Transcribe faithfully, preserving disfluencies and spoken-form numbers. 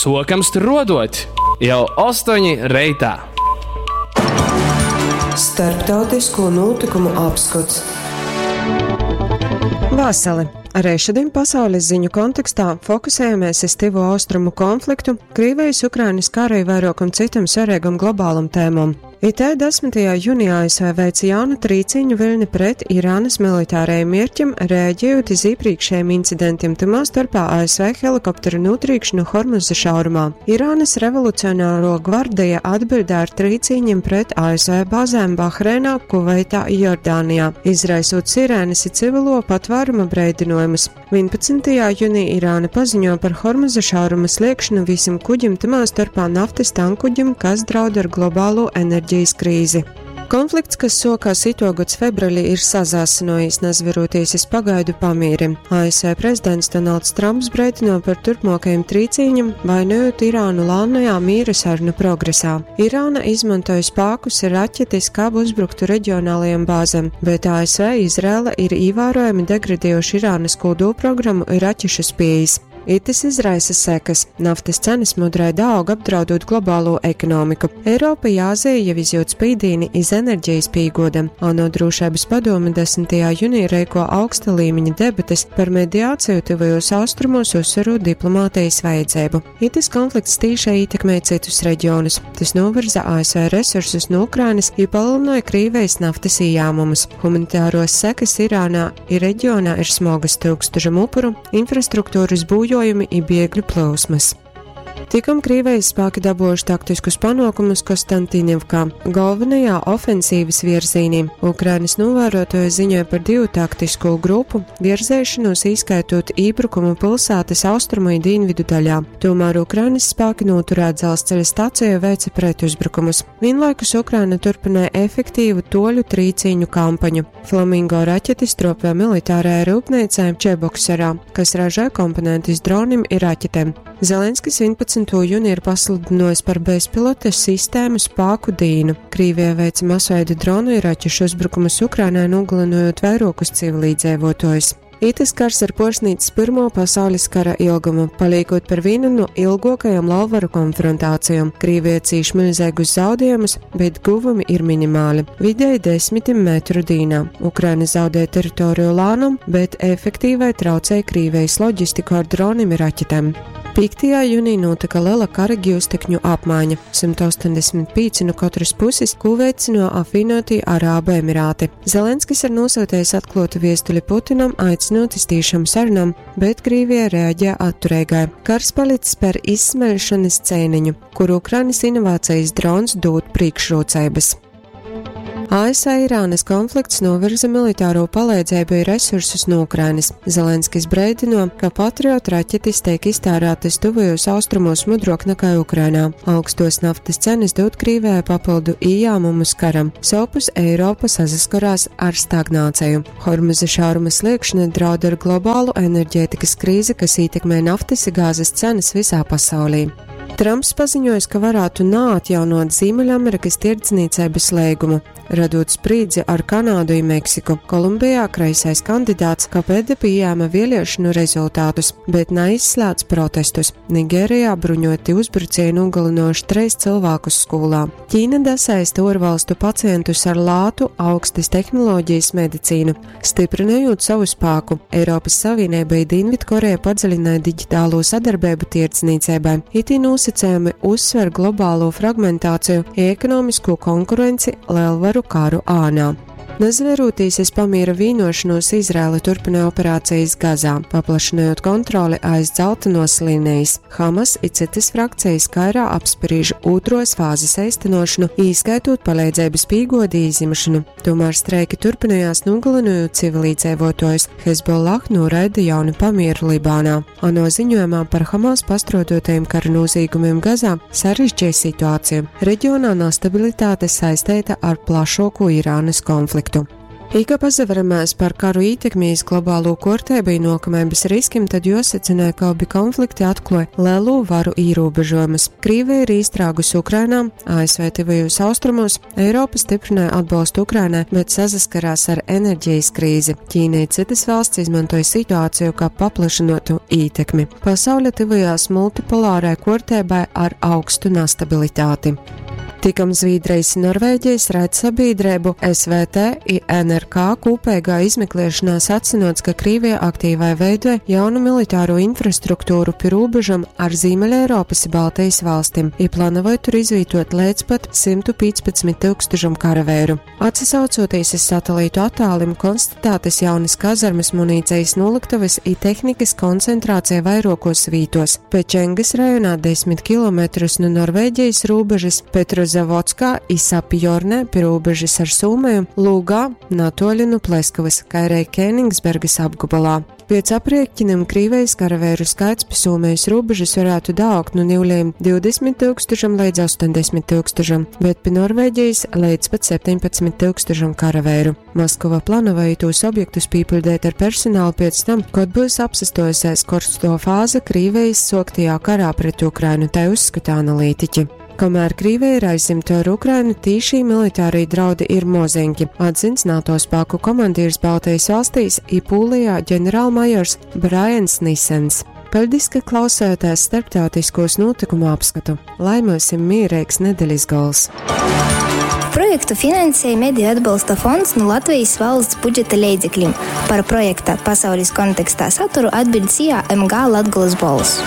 Sokam struodot jau ostoņi reitā. Starptautisko notikumu apskots. Vasali! Arī šodien pasaules ziņu kontekstā fokusējamies uz Tivo Austrumu konfliktu, Krīvijas-Ukrainas kara i vairuokom cytom svareigom globalom tēmom. I T desmitajā jūnijā A S V veica jaunu trīcīņu viļni pret Irānas militārajiem mierķim, reaģējot iz iepriekšējiem incidentiem, tymā starpā A S V helikopteru notrīkšanu Hormuza šaurumā. Irānas revolucionāro gvardeja atbildē ar trīcīņiem pret A S V bāzēm Bahreinā, Kuveitā i Jordānijā, izraisot sirēnas i civilo patvēruma breidinojumus. vienpadsmitajā jūnijā Irāna paziņo par Hormuza šauruma sliekšanu visiem kuģim, tymā starpā naftas tankuģim, kas draud ar globālo enerģijas krīzi. Konflikts, kas sokās itogads februārī, ir sazāsinojis, nazveroties iz pagaidu pamīri. A S V prezidents Donalds Trumps breidino par turpmākajiem trīcīņiem, vainojot Irānu lānajā mīra sarunu progresā. Irāna izmantoja spākus ir raķetes, kā uzbruktu reģionālajiem bāzēm, bet A S V Izraela ir ievērojami degradējuši Irānas kodolprogrammu ir raķešu spējas. Itis izraisa sekas. Naftas cenas mudrai daug, apdraudot globālo ekonomiku. Eiropa i Āzija jau izjūt spīdīni iz enerģijas pīgodam. ANO drošības padome desmitajā jūnijā reiko augsta līmeņa debates par mediāciju tuvajos austrumos, uzsverot diplomātijas vajadzību. Itis konflikts tīšai ietekmē citus reģionus. Tas novirza A S V resursus no Ukrainas i palielināja Krīvijas naftas ieņēmumus. Humanitāros sekas Irānā i reģionā ir smogas, tūkstošiem upuru, infrastruktūras būjojumi i biegļu plūsmas. Tikom Krīvijas spēki dabūjuši taktiskus panākumus Konstantinivkā, galvenajā ofensīvas virzīnī. Ukrainas novērotāji ziņoja par divu taktisko grupu virzēšanos, īskaitot iebrukumu pilsētas austrumu i dienvidu daļā. Tomēr Ukrainas spēki noturēt dzelzceļa staciju veica pretuzbrukumus. Vienlaikus Ukraina turpināja efektīvu toļu trīcīņu kampaņu. Flamingo raķetes tropē militārajā rūpnīcā Čeboksarā, kas ražē komponentus dronim i raķetēm. Zelenskis vienpadsmito jūniju ir pasludinājis par bezpilota sistēmu spāku dīnu. Krīvija veica masveida dronu i raķešu uzbrukumus Ukrainai, nogalinot vairokus civilīdzēvotājus. Itis kars ir porsnīts Pirmo pasaules kara ilgumu, paliekot par vienu no ilgākajām lauvaru konfrontācijām. Krīvija cīš milzīgus zaudējumus, bet guvumi ir minimāli – vidēji desmitim metru dīnā. Ukraina zaudē teritoriju lānum, bet efektīvai traucēja Krīvijas loģistiku ar dronim i raķetēm. piektajā jūnijā notika liela kara gūstekņu apmaiņa – simts astoņdesmit pieci no katras puses, ko veicino apvienotie Arābu Emirāti. Zelenskis ir nosūtījis atklātu viestuli Putinam, aicinot iz tīšām sarunām, bet Krīvija reaģē atturīgai. Kars palicis par izsmeļšanas cēniņu, kur Ukrainas inovācijas drons dod priekšrocības. A S V-Irānas konflikts novirza militāro palīdzību i resursus no Ukrainas. Zelenskis breidino, ka Patriot raķetes tiek iztērētas tuvajos austrumos mudrok nekā Ukrainā. Augstos naftas cenas dod Krīvijai papildu ieņēmumus karam. Sovpus Eiropa sasaskarās ar stagnāciju. Hormuza šauruma sliekšana draud ar globālu enerģētikas krīzi, kas ietekmē naftas i gāzes cenas visā pasaulī. Trumps paziņojis, ka varētu neatjaunot Ziemeļamerikas tirdzniecības līgumu, radot sprīdzi ar Kanādu i Meksiku. Kolumbijā kreisais kandidāts Kapede pieņēma vēlēšanu rezultātus, bet neizslēdz protestus. Nigērijā bruņoti uzbrucēji nogalinoši treis cilvēkus skolā. Ķīna dasaista ārvalstu pacientus ar lātu augstas tehnoloģijas medicīnu, stiprinājot savu spēku. Eiropas Savienība i Dienvidkoreja padziļināja digitālo sadarbību tirdzniecībai. Itī nosacījumi uzsver globālo fragmentāciju i ekonomisko konkurenci lielvaru karu ānā. Nazverūtīs iz pamiera vīnošanos, Izraela turpina operācijas Gazā, paplašinot kontroli aiz dzeltenos līnijas. Hamas i citas frakcijas Kairā apspriež otros fāzes eistenošanu, īskaitot palīdzības pīgodi izimšanu. Tomēr streiki turpinājās, nogalinot civilīdzēvotājus. Hezbollah noraida jaunu pamieru Libānā. ANO ziņojumā par Hamas pastrodotajiem kara noziegumiem Gazā sarežģīja situāciju. Reģionā nestabilitāte saistīta ar plašāko Irānas konfliktu. I, ka pasaveramēs par karu ītekmi iz globālū kuorteibu i nuokameibys riskim, tad juosecynoj, ka obi konflikti atkluoj lelū varu īrūbežuojumus. Krīvija ir īstrāgusi Ukrainā, A S V tyvajūs austrumos, Eiropa stiprināja atbalstu Ukrainai, bet sasaskarās ar enerģijas krīzi. Ķīna i cytys valsts izmantoja situāciju, kā paplašynuotu ītekmi. Pasaule tyvojās multipolārai kuorteibai ar augstu nastabilitāti. Tikam Zvīdrejis i Norvēģijas raidsabiedreibu S V T i N R K kūpeigā izmekliešonā sacynuots, ka Krīvija aktīvai veidoja jaunu militāro infrastruktūru pi rūbežam ar Zīmeļeiropys i Baltejis valstim i plānoja tur izvītot līdz pat symtu pīcpadsmit tūkstošam karaveiru. Atsasaucoties iz satelītu attālim, konstatētas jaunas kazarmas, munīcijas noliktavas i tehnikas koncentrācija vairuokos vītos. Pečengas rajonā desmit kilometrus no Norvēģijas rūbežas, Petrozavodskā i Sapijornē pi rūbežas ar Sūmeju, Lūgā, natuoļi nu Pleskavas, kā arī Kēnigsbergas apgabalā. Piec aprieķiniem Krīvijas karavēru skaits pi Sūmejas rūbežas varētu daaugt nu niulējiem divdesmit tūkstošam līdz astoņdesmit tūkstošam, bet pi Norvēģijas līdz pat septiņpadsmit tūkstošam karavēru. Maskava plānoja tos objektus pīpiļdēt ar personālu pēc tam, kad būs apsastojusies korsto fāze Krīvijas soktajā karā pret Ukrainu, tai uzskata analītiķi. Kamēr Krīvija ir aizsimta ar Ukrainu, tīšī militārī draudi ir mozenki, atzins NATO spēku komandieris Baltijas valstīs i Pūlijā ģenerālmajors Brians Nisens. Paļdis, ka klausāties starptautiskos notikumu apskatu. Lai mums ir mierīgs nedeļas gols! Projektu finansēja Mediju atbalsta fonds no Latvijas valsts budžeta leidzekļiem. Par projekta pasaules kontekstā saturu atbild S I A M G Latgolas Bolss.